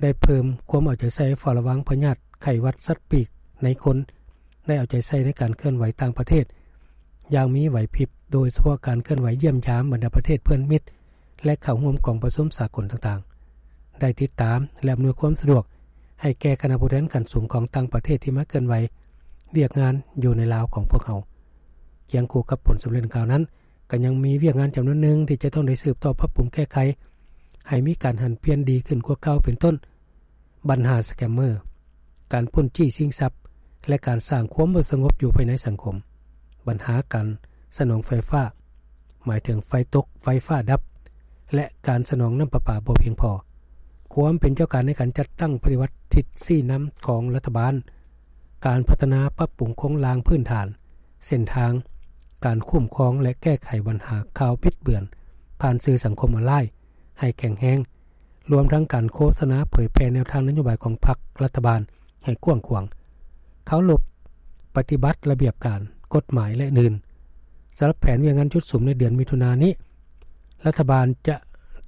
ໄດ້ເພີ່ມຄວາມເອົາໃຈໃສ່ເຝົ້າລະວັງພະຍາດໄຂ້ຫວັດສັດປີກໃນຄົນ, ໄດ້ເອົາໃຈໃສ່ໃນການເຄື່ອນໄຫວຕ່າງປະເທດຢ່າງມີໄຫວພິບ, ໂດຍສະເພາະການເຄື່ອນໄຫວຢ້ຽມຢາມບັນດາປະເທດເພື່ອນມິດ ແລະ ເຂົ້າຮ່ວມກອງປະຊຸມສາກົນຕ່າງໆ, ໄດ້ຕິດຕາມ ແລະ ອຳນວຍຄວາມສະດວກໃຫ້ແກ່ຄະນະຜູ້ແທນຂັ້ນສູງຂອງຕ່າງປະເທດທີ່ມາເຄື່ອນໄຫວວຽກງານຢູ່ໃນລາວຂອງພວກເຮົາ. ຄຽງຄູ່ກັບຜົນສຳເລັດດັ່ງກ່າວນັ້ນ, ກໍຍັງມີວຽກງານຈຳນວນໜຶ່ງທີ່ຈະຕ້ອງໄດ້ສືບຕໍ່ປັບປຸງແກ້ໄຂ ໃຫ້ມີການຫັນປ່ຽນດີຂຶ້ນກວ່າເກົ່າ, ເປັນຕົ້ນ ບັນຫາສະແກມເມີ, ການປຸ້ນຈີ້ຊິງຊັບ ແລະ ການສ້າງຄວາມບໍ່ສະຫງົບຢູ່ພາຍໃນສັງຄົມ, ບັນຫາການສະໜອງໄຟຟ້າ, ໝາຍເຖິງໄຟຕົກ, ໄຟຟ້າດັບ ແລະ ການສະໜອງນ້ຳປະປາບໍ່ພຽງພໍ, ຄວາມເປັນເຈົ້າການໃນການຈັດຕັ້ງປະຕິບັດທິດຊີ້ນຳຂອງລັດຖະບານ, ການພັດທະນາປັບປຸງໂຄງລ່າງພື້ນຖານ, ເສັ້ນທາງ, ການຄຸ້ມຄອງ ແລະ ແກ້ໄຂບັນຫາຂ່າວບິດເບືອນຜ່ານສື່ສັງຄົມອອນລາຍໃຫ້ແຂງແຮງ, ລວມທັງການໂຄສະນາເຜີຍແຜ່ແນວທາງນະໂຍບາຍຂອງພັກລັດຖະບານໃຫ້ກວ້າງຂວາງ, ເຄົາລົບປະຕິບັດລະບຽບການ, ກົດໝາຍ ແລະ ອື່ນ. ສຳລັບແຜນວຽກງານຈຸດສຸມໃນເດືອນມິຖຸນານີ້, ລັດຖະບານຈະ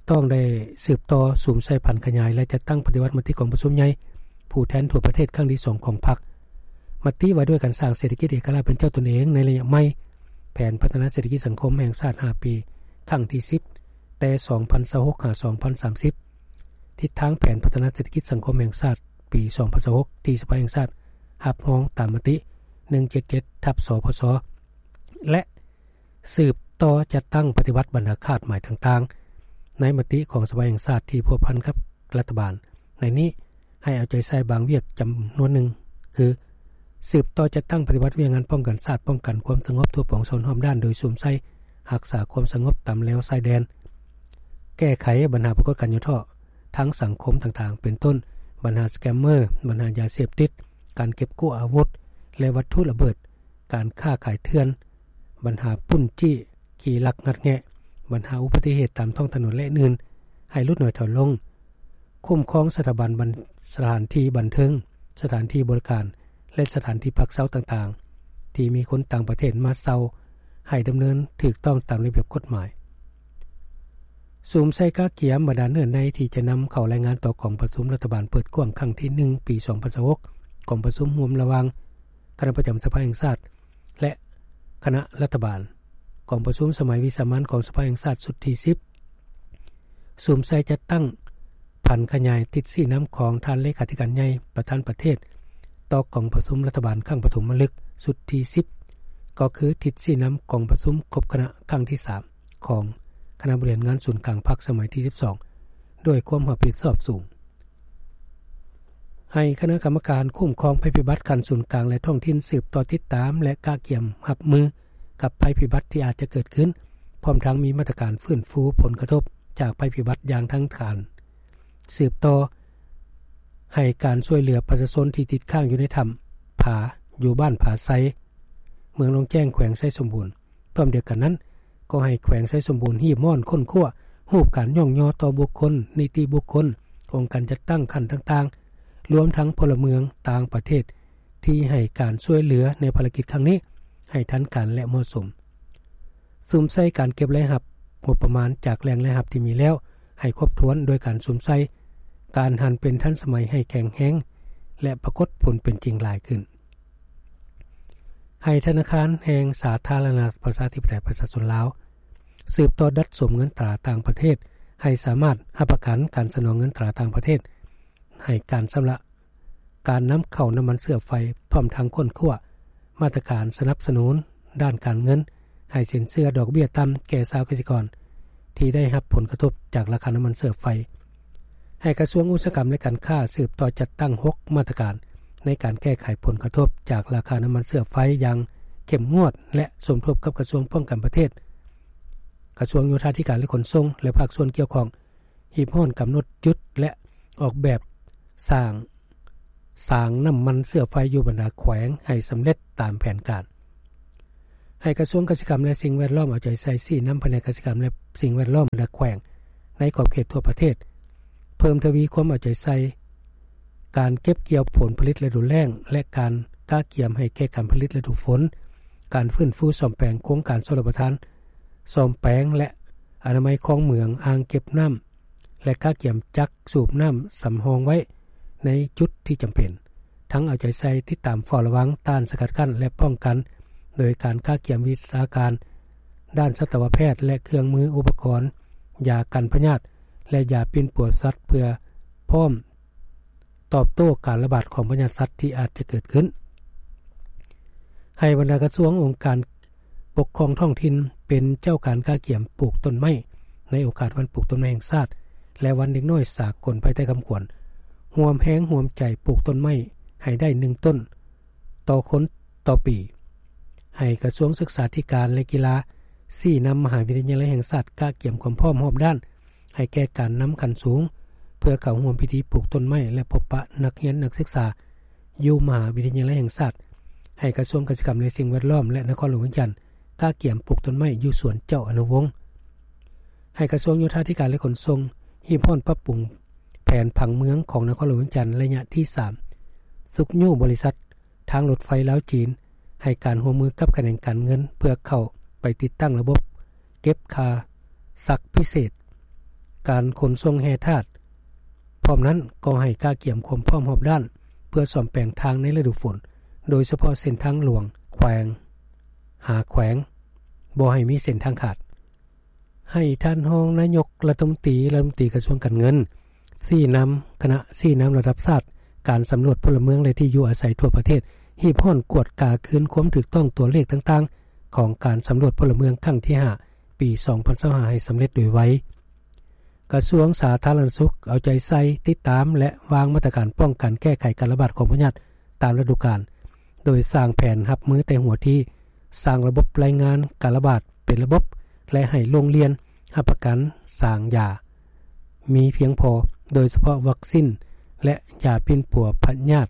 ຕ້ອງໄດ້ສືບຕໍ່ສຸມໃສ່ຜັນຂະຫຍາຍ ແລະ ຈັດຕັ້ງປະຕິບັດມະຕິກອງປະຊຸມໃຫຍ່ຜູ້ແທນທົ່ວປະເທດຄັ້ງທີສອງຂອງພັກ, ມະຕິວ່າດ້ວຍການສ້າງເສດຖະກິດເອກະລາດເປັນເຈົ້າຕົນເອງໃນໄລຍະໃໝ່, ແຜນພັດທະນາເສດຖະກິດສັງຄົມແຫ່ງຊາດຫ້າປີ ຄັ້ງທີສິບ ແຕ່ສອງພັນຊາວຫົກ ຫາ ສອງພັນສາມສິບ, ທິດທາງແຜນພັດທະນາເສດຖະກິດສັງຄົມແຫ່ງຊາດປີສອງພັນຊາວຫົກ ທີ່ສະພາແຫ່ງຊາດຮັບຮອງຕາມມະຕິໜຶ່ງເຈັດເຈັດ ທັບ ສພຊ ແລະ ສືບຕໍ່ຈັດຕັ້ງປະຕິບັດບັນດາຄາດໝາຍຕ່າງໆ ໃນມະຕິຂອງສະພາແຫ່ງຊາດທີ່ພົວພັນກັບລັດຖະບານ. ໃນນີ້ໃຫ້ເອົາໃຈໃສ່ບາງວຽກຈຳນວນໜຶ່ງ ຄື ສືບຕໍ່ຈັດຕັ້ງປະຕິບັດວຽກງານປ້ອງກັນຊາດ, ປ້ອງກັນຄວາມສະຫງົບທົ່ວປວງຊົນຮອບດ້ານ ໂດຍສຸມໃສ່ຮັກສາຄວາມສະຫງົບຕາມແລວຊາຍແດນ, ແກ້ໄຂບັນຫາປາກົດການຫຍໍ້ທໍ້ທາງສັງຄົມຕ່າງໆ ເປັນຕົ້ນ ບັນຫາສະແກມເມີ, ບັນຫາຢາເສບຕິດ, ການເກັບກູ້ອາວຸດ ແລະ ວັດຖຸລະເບີດ, ການຄ້າຂາຍເຖື່ອນ, ບັນຫາປຸ້ນຈີ້, ຂີ້ລັກງັດແງະ, ບັນຫາອຸບັດຕິເຫດຕາມທ້ອງຖະໜົນ ແລະ ອື່ນໆ ໃຫ້ຫຼຸດໜ້ອຍຖອຍລົງ, ຄຸ້ມຄອງສະຖາບັນບັນ ສະຖານທີ່ບັນເທີງ, ສະຖານທີ່ບໍລິການ ແລະ ສະຖານທີ່ພັກເຊົາຕ່າງໆ ທີ່ມີຄົນຕ່າງປະເທດມາເຊົ່າ ໃຫ້ດຳເນີນຖືກຕ້ອງຕາມລະບຽບກົດໝາຍ. ສຸມໃສ່ກະກຽມບັນດາເນື້ອໃນທີ່ຈະນຳເຂົ້າລາຍງານຕໍ່ກອງປະຊຸມລັດຖະບານເປີດກວ້າງຄັ້ງທີໜຶ່ງ ປີສອງພັນຊາວຫົກ ກອງປະຊຸມຮ່ວມລະຫວ່າງຄະນະປະຈຳສະພາແຫ່ງຊາດ ແລະ ຄະນະລັດຖະບານ. ກອງປະຊຸມສະໄໝວິສາມັນຂອງສະພາແຫ່ງຊາດຊຸດທີສິບ ສຸມໃສ່ຈັດຕັ້ງຜັນຂະຫຍາຍທິດຊີ້ນຳຂອງທ່ານເລຂາທິການໃຫຍ່ ປະທານປະເທດ ຕໍ່ກອງປະຊຸມລັດຖະບານຄັ້ງປະຖົມມະລຶກຊຸດທີສິບ ກໍຄືທິດຊີ້ນຳກອງປະຊຸມຄົບຄະນະຄັ້ງທີສາມ ຂອງຄະນະບໍລິຫານງານສູນກາງພັກສະໄໝທີສິບສອງ ດ້ວຍຄວາມຮັບຜິດຊອບສູງ. ໃຫ້ຄະນະກຳມະການຄຸ້ມຄອງໄພພິບັດຂັ້ນສູນກາງ ແລະ ທ້ອງຖິ່ນ ສືບຕໍ່ຕິດຕາມ ແລະ ກະກຽມຮັບມືກັບໄພພິບັດທີ່ອາດຈະເກີດຂຶ້ນ, ພ້ອມທັງມີມາດຕະການຟື້ນຟູຜົນກະທົບຈາກໄພພິບັດຢ່າງທັນການ, ສືບຕໍ່ໃຫ້ການຊ່ວຍເຫຼືອປະຊາຊົນທີ່ຕິດຄ້າງຢູ່ໃນຖ້ຳຜາ ຢູ່ບ້ານຜາໄຊ, ເມືອງໜອງແຈ້ງ ແຂວງໄຊສົມບູນ. ພ້ອມດຽວກັນນັ້ນ, ກໍໃຫ້ແຂວງໄຊສົມບູນຮີບຮ້ອນຄົ້ນຄວ້າຮູບການຍ້ອງຍໍຕໍ່ບຸກຄົນ, ນິຕິບຸກຄົນ, ອົງການຈັດຕັ້ງຂັ້ນຕ່າງໆ, ລວມທັງພົນລະເມືອງຕ່າງປະເທດ ທີ່ໃຫ້ການຊ່ວຍເຫຼືອໃນພາລະກິດຄັ້ງນີ້ໃຫ້ທັນການ ແລະ ເໝາະສົມ. ສຸມໃສ່ການເກັບລາຍຮັບງົບປະມານຈາກແຫຼ່ງລາຍຮັບທີ່ມີແລ້ວໃຫ້ຄົບຖ້ວນ ໂດຍການສຸມໃສ່ການຫັນເປັນທັນສະໄໝໃຫ້ແຂງແຮງ ແລະ ປາກົດຜົນເປັນຈິງຫຼາຍຂຶ້ນ. ໃຫ້ທະນາຄານແຫ່ງສາທາລະນະລັດປະຊາທິປະໄຕປະຊາຊົນລາວ ສືບຕໍ່ດັດສົມເງິນຕາຕ່າງປະເທດ ໃຫ້ສາມາດຮັບປະກັນການສະໜອງເງິນຕາຕ່າງປະເທດ ໃຫ້ການຊຳລະ ການນຳເຂົ້ານ້ຳມັນເຊື້ອໄຟ, ພ້ອມທັງຄົ້ນຄວ້າມາດຕະການສະໜັບສະໜູນດ້ານການເງິນ ໃຫ້ສິນເຊື່ອດອກເບ້ຍຕ່ຳແກ່ຊາວກະສິກອນ ທີ່ໄດ້ຮັບຜົນກະທົບຈາກລາຄານ້ຳມັນເຊື້ອໄຟ. ໃຫ້ກະຊວງອຸດສາຫະກຳ ແລະ ການຄ້າ ສືບຕໍ່ຈັດຕັ້ງຫົກມາດຕະການໃນການແກ້ໄຂຜົນກະທົບຈາກລາຄານ້ຳມັນເຊື້ອໄຟຢ່າງເຂັ້ມງວດ ແລະ ສົມທົບກັບກະຊວງປ້ອງກັນປະເທດ, ກະຊວງໂຍທາທິການ ແລະ ຂົນສົ່ງ ແລະ ພາກສ່ວນກ່ຽວຂ້ອງ ຮີບຮ້ອນກຳນົດຈຸດ ແລະ ອອກແບບສ້າງ ສາງນ້ຳມັນເຊື້ອໄຟຢູ່ບັນດາແຂວງໃຫ້ສຳເລັດຕາມແຜນການ. ໃຫ້ກະຊວງກະສິກຳ ແລະ ສິ່ງແວດລ້ອມເອົາໃຈໃສ່ຊີ້ນຳພະແນກກະສິກຳ ແລະ ສິ່ງແວດລ້ອມບັນດາແຂວງໃນຂອບເຂດທົ່ວປະເທດ ເພີ່ມທະວີຄວາມເອົາໃຈໃສ່ການເກັບກ່ຽວຜົນຜະລິດລະດູແລ້ງ ແລະ ການກະກຽມໃຫ້ແກ່ການຜະລິດລະດູຝົນ, ການຟື້ນຟູສ້ອມແປງໂຄງການຊົນລະປະທານ, ສ້ອມແປງ ແລະ ອະນາໄມຄອງເໝືອງ, ອ່າງເກັບນ້ຳ ແລະ ກະກຽມຈັກສູບນ້ຳສຳຮອງໄວ້ໃນຈຸດທີ່ຈຳເປັນ, ທັງເອົາໃຈໃສ່ຕິດຕາມເຝົ້າລະວັງ, ຕ້ານສະກັດກັ້ນ ແລະ ປ້ອງກັນ ໂດຍການກະກຽມວິຊາການດ້ານສັດຕະວະແພດ ແລະ ເຄື່ອງມືອຸປະກອນຢາກັນພະຍາດ ແລະ ຢາປິ່ນປົວສັດ ເພື່ອພ້ອມ ຕອບໂຕ້ການລະບາດຂອງພະຍາດສັດທີ່ອາດຈະເກີດຂຶ້ນ. ໃຫ້ບັນດາກະຊວງ, ອົງການປົກຄອງທ້ອງຖິ່ນເປັນເຈົ້າການກະກຽມປູກຕົ້ນໄມ້ໃນໂອກາດວັນປູກຕົ້ນໄມ້ແຫ່ງຊາດ ແລະ ວັນເດັກນ້ອຍສາກົນພາຍໃຕ້ຄຳຂວັນ ຮ່ວມແຮງຮ່ວມໃຈປູກຕົ້ນໄມ້ໃຫ້ໄດ້ໜຶ່ງຕົ້ນຕໍ່ຄົນຕໍ່ປີ. ໃຫ້ກະຊວງສຶກສາທິການ ແລະ ກິລາຊີ້ນຳມະຫາວິທະຍາໄລແຫ່ງຊາດກະກຽມຄວາມພ້ອມຮອບດ້ານ ໃຫ້ແກ່ການນຳຂັ້ນສູງ ເພື່ອເຂົ້າຮ່ວມພິທີປູກຕົ້ນໄມ້ ແລະ ພົບປະນັກຮຽນນັກສຶກສາຢູ່ມະຫາວິທະຍາໄລແຫ່ງຊາດ, ໃຫ້ກະຊວງກະສິກຳ ແລະ ສິ່ງແວດລ້ອມ ແລະ ນະຄອນຫຼວງວຽງຈັນກະກຽມປູກຕົ້ນໄມ້ຢູ່ສວນເຈົ້າອະນຸວົງ. ໃຫ້ກະຊວງໂຍທາທິການ ແລະ ຂົນສົ່ງຮີບຮ້ອນປັບປຸງແຜນຜັງເມືອງຂອງນະຄອນຫຼວງວຽງຈັນໄລຍະທີສາມ ຊຸກຍູ້ບໍລິສັດ ທາງລົດໄຟລາວ-ຈີນ ໃຫ້ການຮ່ວມມືກັບຂະແໜງການເງິນ ເພື່ອເຂົ້າໄປຕິດຕັ້ງລະບົບເກັບຄ່າຊັກພິເສດ, ການຂົນສົ່ງແຮ່ທາດ. ພ້ອມນັ້ນກໍໃຫ້ກະກຽມຄວາມພ້ອມຮອບດ້ານ ເພື່ອສ້ອມແປງທາງໃນລະດູຝົນ, ໂດຍສະເພາະເສັ້ນທາງຫຼວງແຂວງຫາແຂວງ ບໍ່ໃຫ້ມີເສັ້ນທາງຂາດ. ໃຫ້ທ່ານຮອງນາຍົກລັດຖະມົນຕີ, ລັດຖະມົນຕີກະຊວງການເງິນ ຊີ້ນຳຄະນະຊີ້ນຳລະດັບຊາດ ການສຳຫຼວດພົນລະເມືອງ ແລະ ທີ່ຢູ່ອາໄສທົ່ວປະເທດ ຮີບຮ້ອນກວດກາຄືນຄວາມຖືກຕ້ອງຕົວເລກຕ່າງໆ ຂອງການສຳຫຼວດພົນລະເມືອງຄັ້ງທີຫ້າ ປີສອງພັນຊາວຫ້າ ໃຫ້ສຳເລັດໂດຍໄວ. ກະຊວງສາທາລະນະສຸກເອົາໃຈໃສ່ຕິດຕາມ ແລະ ວາງມາດຕະການປ້ອງກັນແກ້ໄຂການລະບາດຂອງພະຍາດຕາມລະດູການ, ໂດຍສ້າງແຜນຮັບມືແຕ່ຫົວທີ, ສ້າງລະບົບລາຍງານການລະບາດ ເປັນລະບົບ ແລະ ໃຫ້ໂຮງຮຽນຮັບປະກັນສາງຢາມີພຽງພໍ, ໂດຍສະເພາະວັກຊິນ ແລະ ຢາປິ່ນປົວພະຍາດ,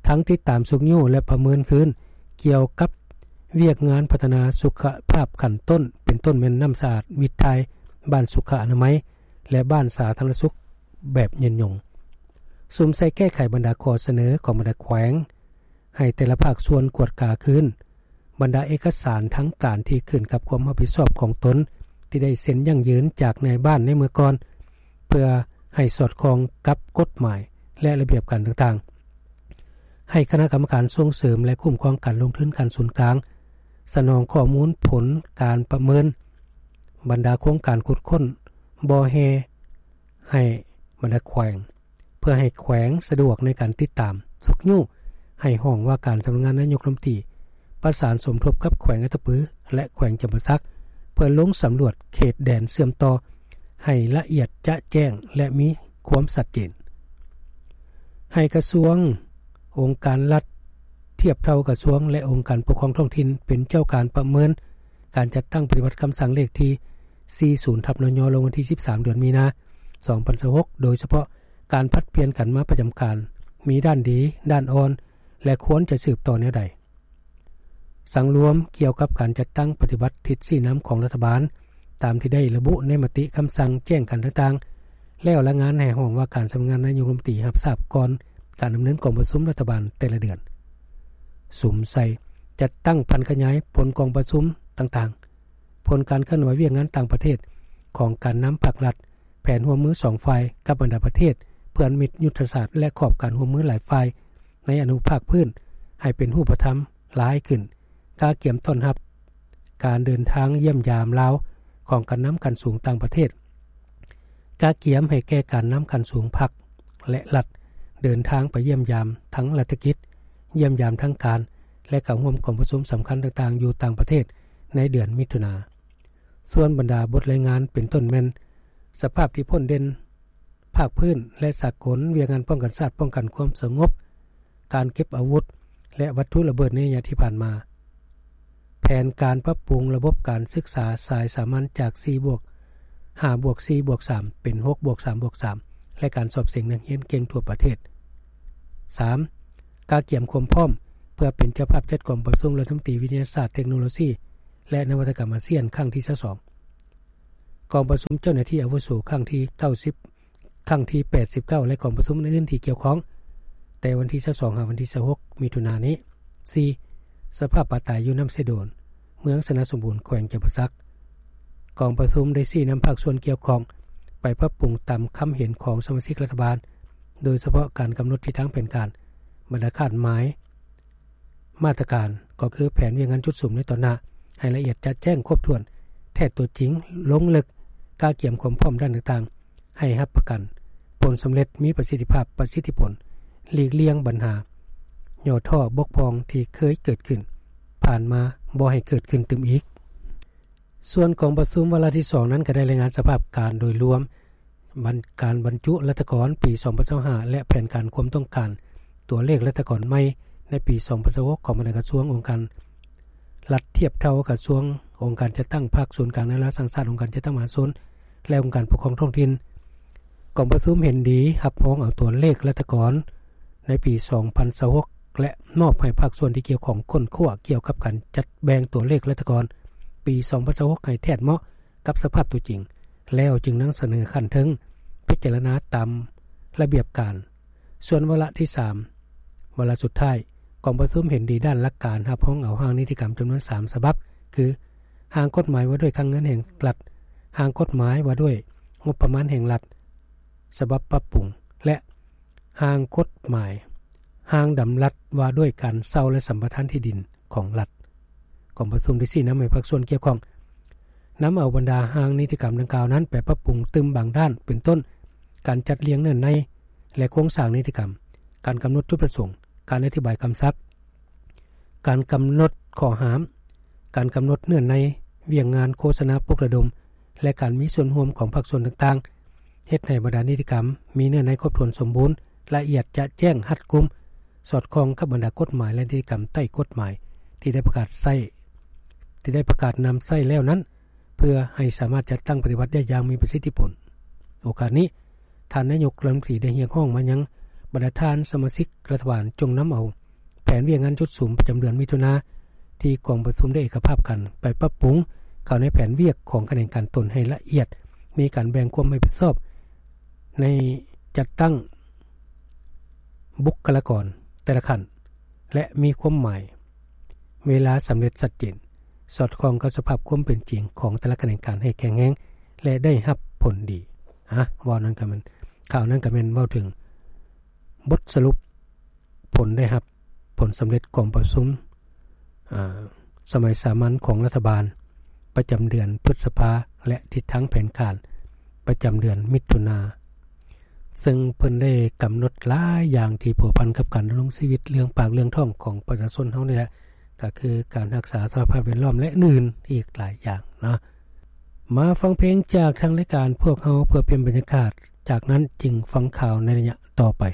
ທັງຕິດຕາມຊຸກຍູ້ ແລະ ປະເມີນຄືນກ່ຽວກັບວຽກງານພັດທະນາສຸຂະພາບຂັ້ນຕົ້ນ, ເປັນຕົ້ນແມ່ນນ້ຳສະອາດ, ວິດຖ່າຍ, ບ້ານສຸຂະອະນາໄມ ແລະ ບ້ານສາທາລະນະສຸກແບບຍືນຍົງ. ສຸມໃສ່ແກ້ໄຂບັນດາຂໍ້ສະເໜີຂອງບັນດາແຂວງ, ໃຫ້ແຕ່ລະພາກສ່ວນກວດກາຄືນບັນດາເອກະສານທາງການທີ່ຂຶ້ນກັບຄວາມຮັບຜິດຊອບຂອງຕົນ ທີ່ໄດ້ເຊັນຢັ້ງຢືນຈາກນາຍບ້ານໃນເມື່ອກ່ອນ ເພື່ອໃຫ້ສອດຄ່ອງກັບກົດໝາຍ ແລະ ລະບຽບການຕ່າງ ໃຫ້ຄະນະກຳມະການສົ່ງເສີມ ແລະ ຄຸ້ມຄອງການລົງທຶນຂັ້ນສູນກາງ ສະໜອງຂໍ້ມູນຜົນການປະເມີນບັນດາໂຄງການຂຸດຄົ້ນບໍ່ແຮ່ໃຫ້ບັນດາແຂວງ ເພື່ອໃຫ້ແຂວງສະດວກໃນການຕິດຕາມ, ຊຸກຍູ້ໃຫ້ຫ້ອງວ່າການສຳນັກງານນາຍົກລັດຖະມົນຕີ ປະສານສົມທົບກັບແຂວງອັດຕະປື ແລະ ແຂວງຈຳປາສັກ ເພື່ອລົງສຳຫຼວດເຂດແດນເຊື່ອມຕໍ່ໃຫ້ລະອຽດຈະແຈ້ງ ແລະ ມີຄວາມຊັດເຈນ. ໃຫ້ກະຊວງ, ອົງການລັດທຽບເທົ່າກະຊວງ ແລະ ອົງການປົກຄອງທ້ອງຖິ່ນ ເປັນເຈົ້າການປະເມີນການຈັດຕັ້ງປະຕິບັດຄຳສັ່ງເລກທີສີ່ສິບ ທັບ ນຍ ລົງວັນທີສິບສາມ ເດືອນມີນາ ສອງພັນຊາວຫົກ ໂດຍສະເພາະການຜັດປ່ຽນກັນມາປະຈຳການ ມີດ້ານດີ, ດ້ານອ່ອນ ແລະ ຄວນຈະສືບຕໍ່ແນວໃດ. ສັງລວມກ່ຽວກັບການຈັດຕັ້ງປະຕິບັດທິດຊີ້ນຳຂອງລັດຖະບານ ຕາມທີ່ໄດ້ລະບຸໃນມະຕິຄຳສັ່ງແຈ້ງການຕ່າງໆ ແລ້ວລາຍງານໃຫ້ຫ້ອງວ່າການສຳນັກງານນາຍົກລັດຖະມົນຕີຮັບຊາບກ່ອນການດຳເນີນກອງປະຊຸມລັດຖະບານແຕ່ລະເດືອນ. ສຸມໃສ່ຈັດຕັ້ງຜັນຂະຫຍາຍຜົນກອງປະຊຸມຕ່າງໆ, ຜົນການເຄື່ອນໄຫວວຽກງານຕ່າງປະເທດຂອງການນຳພາກລັດ, ແຜນຮ່ວມມືສອງຝ່າຍກັບບັນດາປະເທດເພື່ອນມິດ, ຍຸດທະສາດ ແລະ ຂອບການຮ່ວມມືຫຼາຍຝ່າຍໃນອະນຸພາກພື້ນໃຫ້ເປັນຮູບປະທຳຫຼາຍຂຶ້ນ, ກະກຽມຕ້ອນຮັບການເດີນທາງຢ້ຽມຢາມລາວຂອງການນຳຂັ້ນສູງຕ່າງປະເທດ, ກະກຽມໃຫ້ແກ່ການນຳຂັ້ນສູງພັກ ແລະ ລັດເດີນທາງໄປຢ້ຽມຢາມທາງລັດຖະກິດ, ຢ້ຽມຢາມທາງການ ແລະ ເຂົ້າຮ່ວມກອງປະຊຸມສຳຄັນຕ່າງໆຢູ່ຕ່າງປະເທດໃນເດືອນມິຖຸນາ. ສ່ວນບັນດາບົດລາຍງານເປັນຕົ້ນແມ່ນ ສະພາບທີ່ພົ້ນເດັ່ນ ພາກພື້ນ ແລະ ສາກົນ, ວຽກງານປ້ອງກັນຊາດ, ປ້ອງກັນຄວາມສະຫງົບ, ການເກັບອາວຸດ ແລະ ວັດຖຸລະເບີດໃນໄລຍະທີ່ຜ່ານມາ, ແຜນການປັບປຸງລະບົບການສຶກສາສາຍສາມັນຈາກສີ່ບວກ ຫ້າບວກສີ່ບວກສາມ ເປັນຫົກບວກສາມບວກສາມ ແລະ ການສອບເສັງນັກຮຽນເກັ່ງທົ່ວປະເທດ. ສາມ ກະກຽມຄວາມພ້ອມເພື່ອເປັນເຈົ້າພາບຈັດກອງປະຊຸມລັດຖະມົນຕີວິທະຍາສາດ, ເຕັກໂນໂລຊີ ແລະ ນະວັດຕະກຳອາຊຽນຄັ້ງທີຊາວສອງ, ກອງປະຊຸມເຈົ້າໜ້າທີ່ອາວຸໂສຄັ້ງທີເກົ້າສິບ ຄັ້ງທີແປດສິບເກົ້າ ແລະ ກອງປະຊຸມອື່ນໆທີ່ກ່ຽວຂ້ອງ ແຕ່ວັນທີຊາວສອງ ຫາວັນທີຊາວຫົກ ມິຖຸນານີ້. ສີ່ ສະພາບປາຕາຍຢູ່ນ້ຳເຊໂດນ ເມືອງຊະນະສົມບູນ ແຂວງຈຳປາສັກ. ກອງປະຊຸມໄດ້ຊີ້ນຳພາກສ່ວນກ່ຽວຂ້ອງໄປປັບປຸງຕາມຄຳເຫັນຂອງສະມາຊິກລັດຖະບານ, ໂດຍສະເພາະການກຳນົດທິດທາງແຜນການ, ບັນດາຄາດໝາຍ, ມາດຕະການ ກໍຄືແຜນວຽກງານຈຸດສຸມໃນຕອນໜ້າ ໃຫ້ລະອຽດຈະແຈ້ງຄົບຖ້ວນ, ແທດຕົວຈິງ, ລົງເລິກ, ກະກຽມຄວາມພ້ອມດ້ານຕ່າງໆ ໃຫ້ຮັບປະກັນຜົນສຳເລັດ, ມີປະສິດທິພາບ, ປະສິດທິຜົນ, ຫຼີກລ່ຽງບັນຫາຫຍໍ້ທໍ້ບົກຜ່ອງທີ່ເຄີຍເກີດຂຶ້ນຜ່ານມາ ບໍ່ໃຫ້ເກີດຂຶ້ນຕື່ມອີກ. ສ່ວນກອງປະຊຸມວາລະທີສອງນັ້ນ ກໍໄດ້ລາຍງານສະພາບການໂດຍລວມ ບັນ ການບັນຈຸລັດຖະກອນປີສອງພັນຊາວຫ້າ ແລະ ແຜນການຄວາມຕ້ອງການຕົວເລກລັດຖະກອນໃໝ່ໃນປີສອງພັນຊາວຫົກ ຂອງບັນດາກະຊວງ, ອົງການລັດທຽບເທົ່າກະຊວງ, ອົງການຈັດຕັ້ງພັກ, ສູນກາງແນວລາວສ້າງຊາດ, ອົງການຈັດຕັ້ງມະຫາຊົນ ແລະ ອົງການປົກຄອງທ້ອງຖິ່ນ. ກອງປະຊຸມເຫັນດີຮັບຮອງເອົາຕົວເລກລັດຖະກອນໃນປີສອງພັນຊາວຫົກ ແລະ ມອບໃຫ້ພາກສ່ວນທີ່ກ່ຽວຂ້ອງຄົ້ນຄວ້າກ່ຽວກັບການຈັດແບ່ງຕົວເລກລັດຖະກອນປີສອງພັນຊາວຫົກ ໃຫ້ແທດເໝາະ ກັບສະພາບຕົວຈິງ ແລ້ວຈຶ່ງນຳສະເໜີຂັ້ນເທິງພິຈາລະນາຕາມລະບຽບການ. ສ່ວນວາລະທີສາມ ວາລະສຸດທ້າຍ ກອງປະຊຸມເຫັນດີດ້ານຫຼັກການຮັບຮອງເອົາຮ່າງນິຕິກຳຈຳນວນສາມສະບັບ ຄື ຮ່າງກົດໝາຍວ່າດ້ວຍຄັງເງິນແຫ່ງລັດ, ຮ່າງກົດໝາຍວ່າດ້ວຍງົບປະມານແຫ່ງລັດ ສະບັບປັບປຸງ ແລະ ຮ່າງກົດໝາຍ ຮ່າງດຳລັດວ່າດ້ວຍການເຊົ່າ ແລະ ສຳປະທານທີ່ດິນຂອງລັດ. ກອງປະຊຸມໄດ້ຊີ້ນຳໃຫ້ພາກສ່ວນກ່ຽວຂ້ອງ ນຳເອົາບັນດາຮ່າງນິຕິກຳດັ່ງກ່າວນັ້ນໄປປັບປຸງຕື່ມບາງດ້ານ ເປັນຕົ້ນ ການຈັດລຽງເນື້ອໃນ ແລະ ໂຄງສ້າງນິຕິກຳ, ການກຳນົດຈຸດປະສົງ, ການອະທິບາຍຄຳສັບ, ການກຳນົດຂໍ້ຫ້າມ, ການກຳນົດເນື້ອໃນວຽກງານໂຄສະນາປຸກລະດົມ ແລະ ການມີສ່ວນຮ່ວມຂອງພາກສ່ວນຕ່າງໆ, ເຮັດໃຫ້ບັນດານິຕິກຳມີເນື້ອໃນຄົບຖ້ວນສົມບູນ, ລະອຽດຈະແຈ້ງ, ຮັດກຸມ, ສອດຄ່ອງກັບບັນດາກົດໝາຍ ແລະ ນິຕິກຳໃຕ້ກົດໝາຍທີ່ໄດ້ປະກາດໃຊ້, ທີ່ໄດ້ປະກາດນຳໃຊ້ແລ້ວນັ້ນ ເພື່ອໃຫ້ສາມາດຈັດຕັ້ງປະຕິບັດໄດ້ຢ່າງມີປະສິດທິຜົນ. ໂອກາດນີ້, ທ່ານນາຍົກລັດຖະມົນຕີໄດ້ຮຽກຮ້ອງມາຍັງບັນດາທ່ານສະມາຊິກລັດຖະບານ ຈົ່ງນຳເອົາແຜນວຽກງານຈຸດສຸມປະຈຳເດືອນມິຖຸນາ ທີ່ກອງປະຊຸມໄດ້ເອກະພາບກັນ ໄປປັບປຸງເຂົ້າໃນແຜນວຽກຂອງຂະແໜງການຕົນໃຫ້ລະອຽດ, ມີການແບ່ງຄວາມຮັບຜິດຊອບໃນຈັດຕັ້ງບຸກຄະລາກອນແຕ່ລະຂັ້ນ ແລະ ມີຄວາມໝາຍເວລາສຳເລັດຊັດເຈນ, ສອດຄ່ອງກັບສະພາບຄວາມເປັນຈິງຂອງແຕ່ລະຂະແໜງການໃຫ້ແຂງແຮງ ແລະ ໄດ້ຮັບຜົນດີ. ອາ ເວົ້ານັ້ນກໍແມ່ນ, ຂ່າວນັ້ນກໍແມ່ນເວົ້າເຖິງບົດສະຫຼຸບຜົນໄດ້ຮັບ ຜົນສຳເລັດກອງປະຊຸມ ສະໄໝສາມັນຂອງລັດຖະບານ ປະຈຳເດືອນພຶດສະພາ ແລະ ທິດທາງແຜນການ ປະຈຳເດືອນມິຖຸນາ ເຊິ່ງເພິ່ນໄດ້ກຳນົດຫຼາຍຢ່າງທີ່ພົວພັນກັບການດຳລົງຊີວິດ ເລື່ອງປາກເລື່ອງທ້ອງຂອງປະຊາຊົນເຮົານີ້ແຫຼະ ກໍຄືການຮັກສາສະພາບແວດລ້ອມ ແລະ ອື່ນໆອີກຫຼາຍຢ່າງເນາະ. ມາຟັງເພງຈາກທາງລາຍການພວກເຮົາ ເພື່ອປ່ຽນບັນຍາກາດ ຈາກນັ້ນຈຶ່ງຟັງຂ່າວໃນໄລຍະຕໍ່ໄປ.